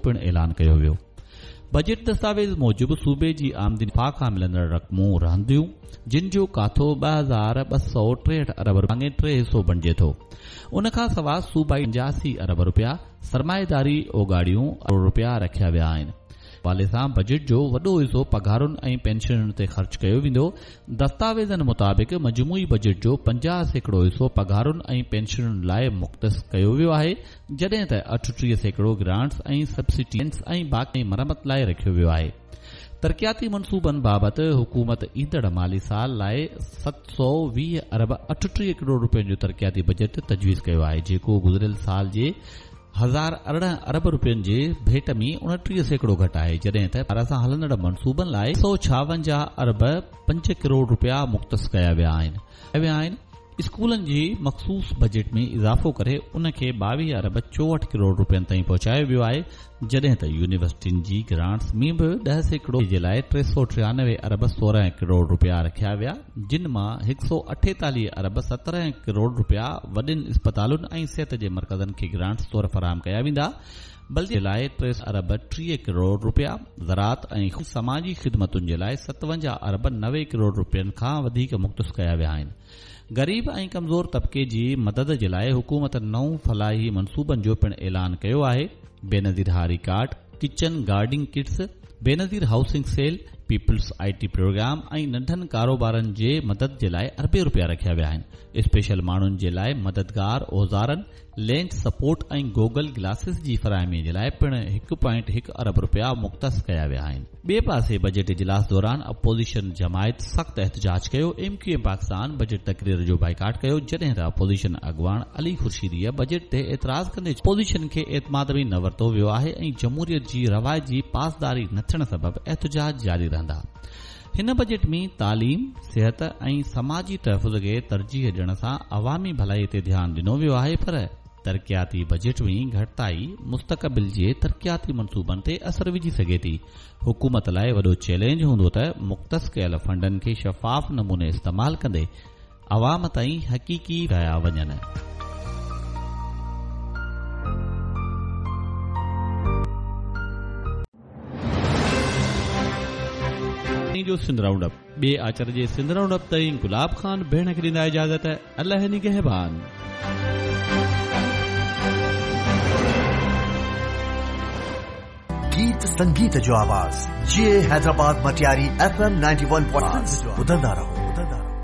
پڻ اعلان ڪيو ويو. بجيٽ دستاويز موجب صوبي جي آمدني نفع کان ملندڙ رقمون رهنديون، جن جو ڪاٿو 2263 ارب ڀاڱي ٽي حصو بڻجي ٿو. ان کان سواء صوبائي 85 ارب رپيا سرمائيداري اوڳاڙيون ارب رپيا رکيا ويا آهن. حوالي سان بجيٽ جو وڏو حصو پگهارن ۽ پينشنن تي خرچ ڪيو ويندو. دستاويزن مطابق مجموعي بجيٽ جو 50% حصو پگهارن ۽ پينشنن لاء مختص ڪيو ويو آهي، جڏهن ته 38% گرانٽس ۽ سبسڊيز ۽ باقي مرمت لاء رکيو ويو آهي. ترقياتي منصوبن بابت حڪومت ايندڙ مالي سال لاء 720 ارب 38 ڪروڙ رپين جو ترقياتي بجيٽ تجويز ڪيو آهي، جيڪو گذريل سال جي 1018 ارب رپين جي ڀيٽ ۾ 29% گهٽ آهي، جڏهن ته پار سان هلندڙ منصوبن لاء 156 ارب 5 ڪروڙ رپيا مختص ڪيا ويا آهن. اسڪولن جي مخصوص بجيٽ ۾ اضافو ڪري ان کي 22 ارب 64 ڪروڙ رپين تائين پهچايو ويو آهي، جڏهن ته يونيورسٽين جي گرانٽس ۾ به 10% جي لاء 393 ارب 16 ڪروڙ رپيا رکيا ويا، جن مان 148 ارب 17 ڪروڙ رپيا وڏين اسپتالن ۽ صحت جي مرڪزن کي گرانٽس طور فراهم ڪيا ويندا، بلديه جي لاء 3 ارب 30 ڪروڙ رپيا، زراعت ۽ سماجي خدمتن جي لاء 57 ارب 90 ڪروڙ رپين کان وڌيڪ مختص ڪيا ويا آهن. غريب ۽ ڪمزور طبقي جي مدد جي لاء حڪومت نون فلاحي منصوبن جو پڻ اعلان ڪيو آهي، بينظير هاري card, kitchen gardening kits, Benazir housing cell, peoples I T programme ۽ ننڍن ڪاروبارن جي مدد جي لاء اربين رپيا رکيا ويا آهن، اسپيشل ماڻهن جي لاء مددگار اوزارن، لينس سپورٽ ۽ گوگل گلاسز جي فراهمي جي لاء پڻ هڪ پوائنٽ هڪ ارب رپيا مختص ڪيا ويا آهن. ٻئي پاسي بجيٽ اجلاس دوران اپوزيشن جماعت سخت احتجاج ڪيو، M Q M Pakistan budget تقرير جو بائيڪاٽ ڪيو، جڏهن ته اپوزيشن اڳواڻ علي خورشيديء بجيٽ تي اعتراض ڪندي چيو اپوزيشن کي اعتماد ۾ نه ورتو ويو آهي ۽ جمهوريت جي روايت جي پاسداري نه ٿيڻ سبب احتجاج جاري رهندا. هن بجيٽ ۾ تعليم، صحت ۽ سماجي تحفظ کي ترجيح ڏيڻ سان عوامي ڀلائي تي ڌيان ڏنو ويو آهي پر ترقياتي بجيٽ ۾ گهٽتائي مستقبل جي ترقياتي منصوبن تي اثر وجهي سگهي ٿي. حڪومت لاء وڏو چئلينج هوندو ته مختص ڪيل فنڊن کي شفاف نموني استعمال ڪندي عوام تائين حقيقي ڪيا وڃن. جو سنڌ رائونڊ اپ ٻئي آچر جي سنڌ رائونڊ اپ تائين گلاب خان ڀيڻ کي ڏيندا اجازت الله نگهبان. گيت سنگيت جو آواز جي حيدرآباد مٽياري ايف ايم 91.5 ٻڌندا رهو.